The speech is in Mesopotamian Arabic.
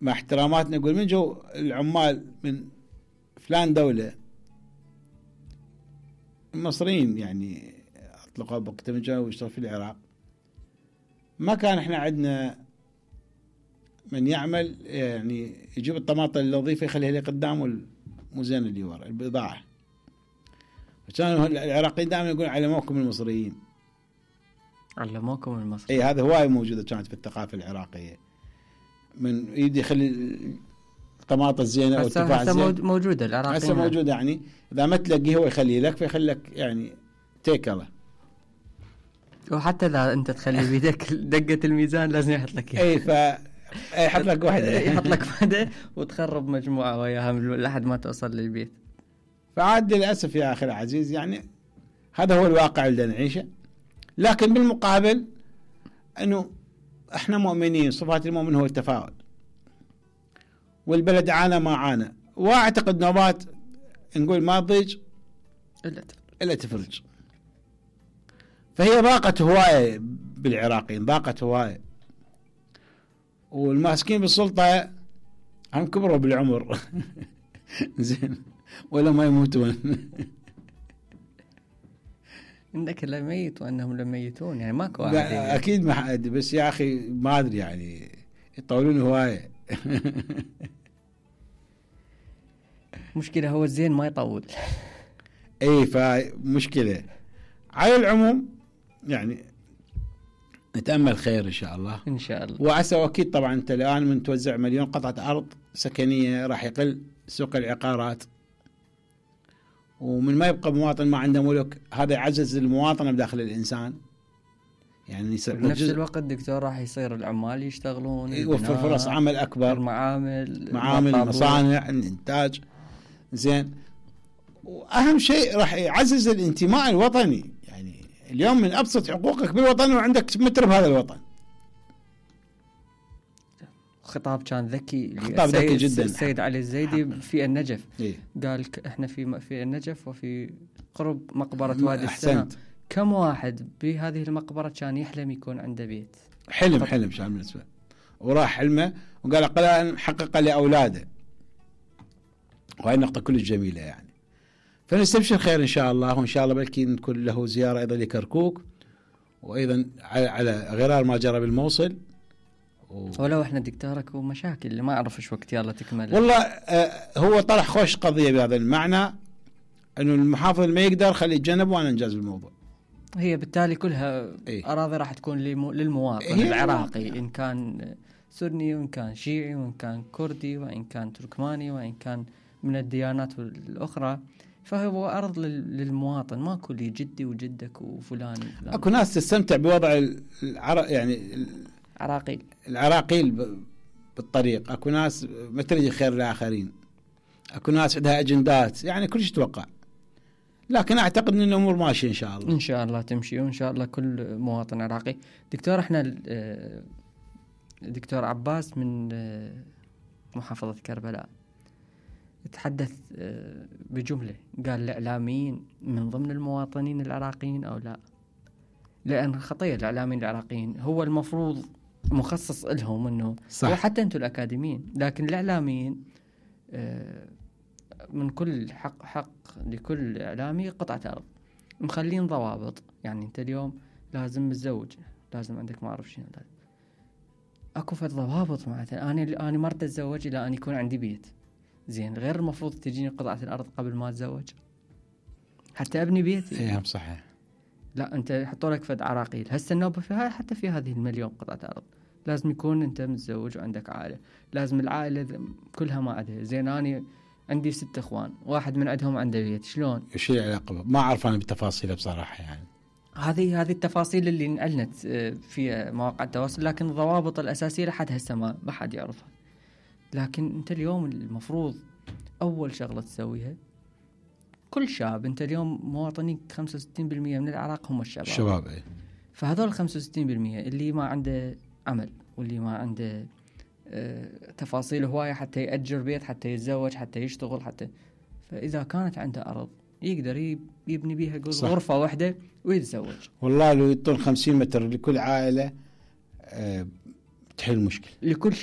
مع احتراماتنا نقول من جو العمال من فلان دولة المصريين يعني اطلقوا بوقت من جاءوا واشتغلوا في العراق، ما كان احنا عندنا من يعمل يعني يجيب الطماطم النظيفة يخليها لي قدام والموزين اللي ورا البضاعة. فكانوا العراقيين دائما يقولون علموكم المصريين. علموكم المصريين. اي هذا هواي موجودة كانت في الثقافة العراقية، من يدي يخلي الطماطم الزينة او التفاح الزين موجودة العراقيين هسه موجودة، يعني اذا ما تلاقيه هو يخلي لك فيخلي لك يعني تيكله. وحتى اذا انت تخلي بيدك دقة الميزان لازم يحط لك اياها. اي يحط لك واحدة يحط لك واحدة وتخرب مجموعة وياها لحد ما توصل للبيت. فعاد للأسف يا أخي العزيز يعني هذا هو الواقع اللي نعيشه. لكن بالمقابل أنه احنا مؤمنين، صفات المؤمن هو التفاؤل، والبلد عانى ما عانى، واعتقد نوبات نقول ما تضيج إلا تفرج. فهي ضاقت هواية بالعراقيين، ضاقت هواية، والماسكين بالسلطة هم كبروا بالعمر زين ولا ما يموتون. انك لميت وانهم لميتون، يعني ماكو واحد اكيد ما حد، بس يا اخي ما ادري يعني يطولون هوايه. مشكله هو الزين ما يطول. اي فمشكله. على العموم يعني نتامل خير ان شاء الله ان شاء الله. وعسى واكيد طبعا انت الان من توزع مليون قطعه ارض سكنيه راح يقل سوق العقارات، ومن ما يبقى مواطن ما عنده ملك، هذا يعزز المواطنة بداخل الإنسان. يعني بنفس الوقت دكتور راح يصير العمال يشتغلون، يوفر فرص عمل أكبر، معامل مصانع الإنتاج زين. وأهم شيء راح يعزز الانتماء الوطني، يعني اليوم من أبسط حقوقك بالوطن وعندك متر بهذا الوطن. خطاب كان ذكي، خطاب ذكي جدا. السيد علي الزيدي في النجف إيه؟ قال احنا في النجف وفي قرب مقبرة وادي السلام، كم واحد بهذه المقبرة كان يحلم يكون عنده بيت؟ حلم شان بالنسبة، وراح حلمه وقال أقل حقق لأولاده. وهي النقطة كلش جميلة يعني. فنستبشر خير إن شاء الله، وإن شاء الله بلكي نكون له زيارة أيضا لكركوك، وأيضا على غرار ما جرى بالموصل. ولو احنا دكتورك ومشاكل اللي ما اعرف ايش وقت يلا تكمل. والله هو طرح خوش قضية بهذا المعنى، انه المحافظ ما يقدر خليه يتجنب وانا انجاز الموضوع. هي بالتالي كلها اراضي راح تكون للمواطن العراقي، ان كان سني وان كان شيعي وان كان كردي وان كان تركماني وان كان من الديانات الاخرى، فهو ارض للمواطن، ماكو لي جدي وجدك وفلان. اكو ناس تستمتع بوضع يعني العراقيل بالطريق، اكو ناس ما تريد خير للآخرين، اكو ناس عندها اجندات، يعني كل شيء يتوقع. لكن اعتقد ان الامور ماشيه ان شاء الله. ان شاء الله تمشي، وان شاء الله كل مواطن عراقي. دكتور احنا دكتور عباس من محافظة كربلاء تحدث بجملة، قال الإعلاميين من ضمن المواطنين العراقيين أو لا؟ لأن خطية الإعلاميين العراقيين هو المفروض مخصص لهم انه صح. وحتى انتم الاكاديميين، لكن الاعلاميين من كل حق لكل اعلامي قطعة ارض، مخلين ضوابط. يعني انت اليوم لازم متزوج، لازم عندك ما اعرف شنو، اكو فد ضوابط معناتها. انا ما اتزوج الا ان يكون عندي بيت زين، غير المفروض تجيني قطعة الارض قبل ما اتزوج حتى ابني بيتي. ايه صحيح. لا انت يحطوا لك فد عراقيل هسه النوبة فيها، حتى في هذه المليون قطعة ارض لازم يكون انت متزوج وعندك عائلة، لازم العائلة كلها ما عندها. زين انا عندي 6 اخوان، واحد من عندهم عنده بيت، شلون؟ ايش العلاقة؟ ما اعرف انا بالتفاصيل بصراحة يعني. هذه التفاصيل اللي انعلنت في مواقع التواصل، لكن الضوابط الاساسية لحد هسه ما حد يعرفها. لكن انت اليوم المفروض اول شغلة تسويها كل شاب، انت اليوم مواطنين 65% من العراق هم الشباب. ايه. فهذول 65% اللي ما عنده عمل واللي ما عنده تفاصيل هواية حتى يأجر بيت، حتى يتزوج، حتى يشتغل، حتى فإذا كانت عنده أرض يقدر يبني بيها غرفة واحدة ويتزوج. والله لو يطول 50 متر لكل عائلة تحل المشكلة لكل